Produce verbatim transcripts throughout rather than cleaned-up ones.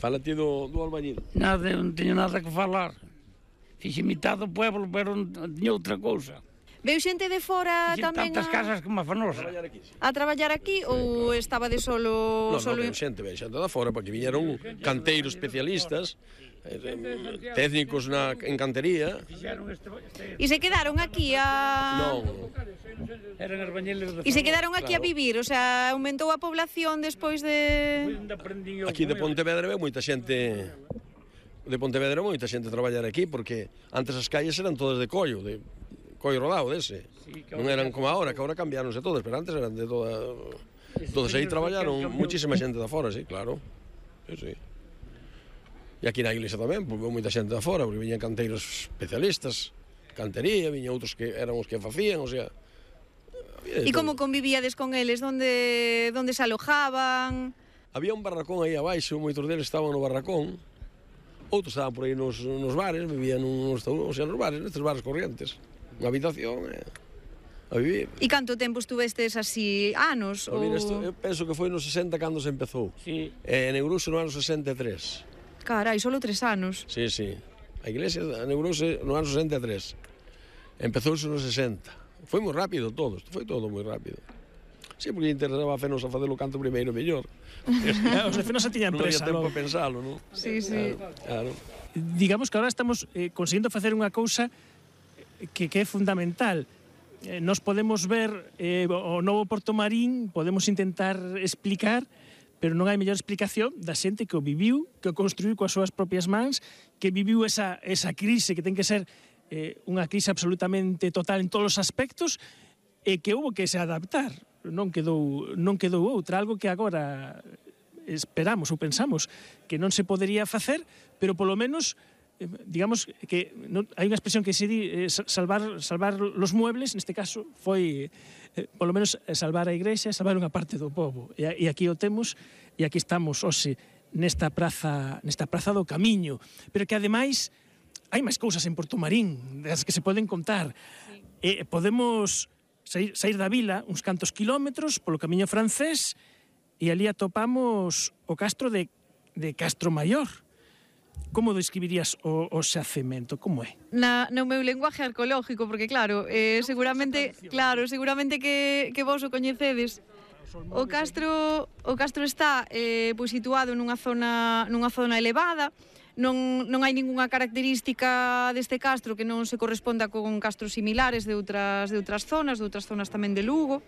Fala ti do, do albañil. Nada, eu non teño nada que falar. Fixe mitad do pueblo, pero non tiña outra cousa. Veu xente de fora Fixe tamén tantas a, casas como a Fanosa. Traballar aquí, sí. a traballar aquí ou estaba de solo... Non, solo... non, veu xente, veu xente da fora, porque viñeron canteiros especialistas, eh, técnicos na, en cantería. E se quedaron aquí a... Non, Eran albañiles de E se quedaron aquí a Claro. vivir, o sea, aumentou a población despois de... aquí de Pontevedra veu moita xente, de Pontevedra moita xente a traballar aquí, porque antes as calles eran todas de collo, de collo rodado dese. Non eran como agora, que agora cambiáronse todas, pero antes eran de toda... Todos aí traballaron muchísima xente da fora, sí, claro. Sí, sí. E aquí na iglesia tamén, porque veu moita xente da fora, porque viñan canteiros especialistas, cantería, viñan outros que eran os que facían, o sea... E como convivíades con eles? Donde, donde se alojaban? Había un barracón aí abaixo, moitos deles estaban no barracón, outros estaban por aí nos, nos bares, vivían nos, o sea, nos bares, nestes bares corrientes. Unha habitación, eh, a vivir. E canto tempo estuvestes así? Anos? Ou... Mira, Ou... isto, eu penso que foi nos sesenta cando se empezou. Sí. E neurouse no ano sesenta e tres. Carai, solo tres anos. Sí, sí. A iglesia neurouse no ano sesenta e tres. Empezouse nos sesenta. Foi moi rápido todo, isto foi todo moi rápido. Sí, porque interesaba a Fenosa facelo canto primeiro mellor. Os de Fenosa tiñan Non había presa, tempo non? a pensalo, non? Sí, sí. Claro. Digamos que agora estamos eh, conseguindo facer unha cousa que, que é fundamental. Eh, nos podemos ver eh, o novo Porto Marín, podemos intentar explicar, pero non hai mellor explicación da xente que o viviu, que o construiu coas súas propias mans, que viviu esa, esa crise que ten que ser eh, unha crise absolutamente total en todos os aspectos e que houve que se adaptar. Non quedou, non quedou outra, algo que agora esperamos ou pensamos que non se podería facer, pero polo menos digamos que non, hai unha expresión que se di eh, salvar, salvar los muebles, neste caso foi eh, polo menos salvar a igrexa, salvar unha parte do povo, e, e aquí o temos e aquí estamos hoxe nesta praza, nesta praza do Camiño, pero que ademais hai máis cousas en Porto Marín das que se poden contar. Sí. Eh, podemos sair, sair da vila uns cantos kilómetros polo Camiño francés e ali atopamos o castro de, de Castro Maior. Como describirías o, o xacemento? Como é? Na, no meu lenguaje arqueológico, porque claro, eh, seguramente, claro, seguramente que, que vos o coñecedes. O castro, o castro está eh, pois situado nunha zona, nunha zona elevada. Non, non hai ningunha característica deste castro que non se corresponda con castros similares de outras, de outras zonas, de outras zonas tamén de Lugo.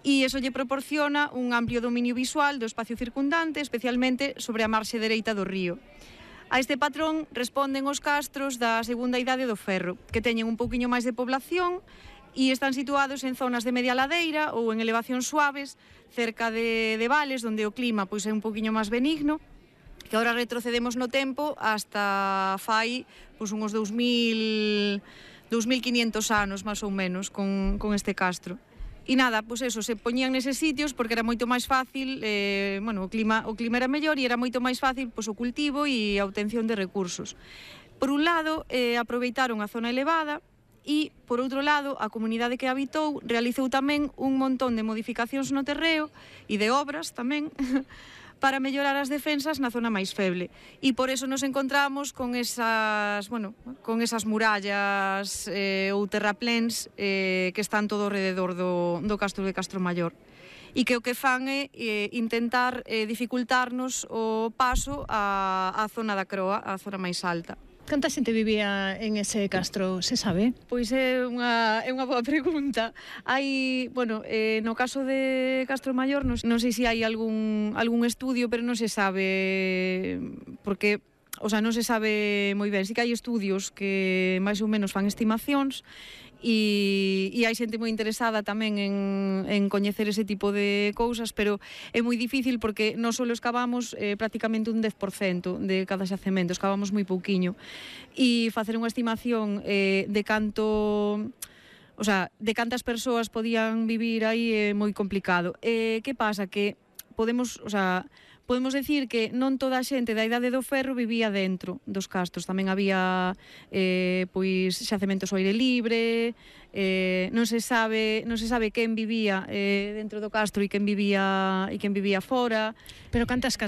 E iso lle proporciona un amplio dominio visual do espacio circundante, especialmente sobre a marxe dereita do río. A este patrón responden os castros da segunda idade do ferro, que teñen un pouquiño máis de población e están situados en zonas de media ladeira ou en elevacións suaves, cerca de, de vales, onde o clima pois, é un pouquiño máis benigno, que agora retrocedemos no tempo hasta fai pois, uns dous mil quinhentos anos, máis ou menos, con, con este castro. E nada, pois eso, se poñían neses sitios porque era moito máis fácil, eh, bueno, o clima, o clima era mellor e era moito máis fácil pois, o cultivo e a obtención de recursos. Por un lado, eh, aproveitaron a zona elevada e, por outro lado, a comunidade que habitou realizou tamén un montón de modificacións no terreo e de obras tamén para mellorar as defensas na zona máis feble. E por eso nos encontramos con esas, bueno, con esas murallas eh, ou terrapléns eh, que están todo alrededor do, do castro de Castro Maior. E que o que fan é eh, intentar eh, dificultarnos o paso á, á zona da Croa, á zona máis alta. Canta xente vivía en ese castro, se sabe? Pois é unha, é unha boa pregunta. Hai, bueno, eh, no caso de Castro Maior, non, non sei se hai algún, algún estudio, pero non se sabe, porque, o sea, non se sabe moi ben. Sí que hai estudios que máis ou menos fan estimacións, E, e hai xente moi interesada tamén en, en coñecer ese tipo de cousas, pero é moi difícil porque non só escavamos eh, prácticamente un dez por cento de cada xacemento, escavamos moi pouquiño, e facer unha estimación eh, de canto, o sea, de cantas persoas podían vivir aí é moi complicado. Eh, que pasa? Que podemos, o sea, podemos decir que non toda a xente da idade do ferro vivía dentro dos castros, tamén había eh, pois xacementos ao aire libre, eh, non se sabe, non se sabe quen vivía eh, dentro do castro e quen vivía e quen vivía fora. Pero cantas casas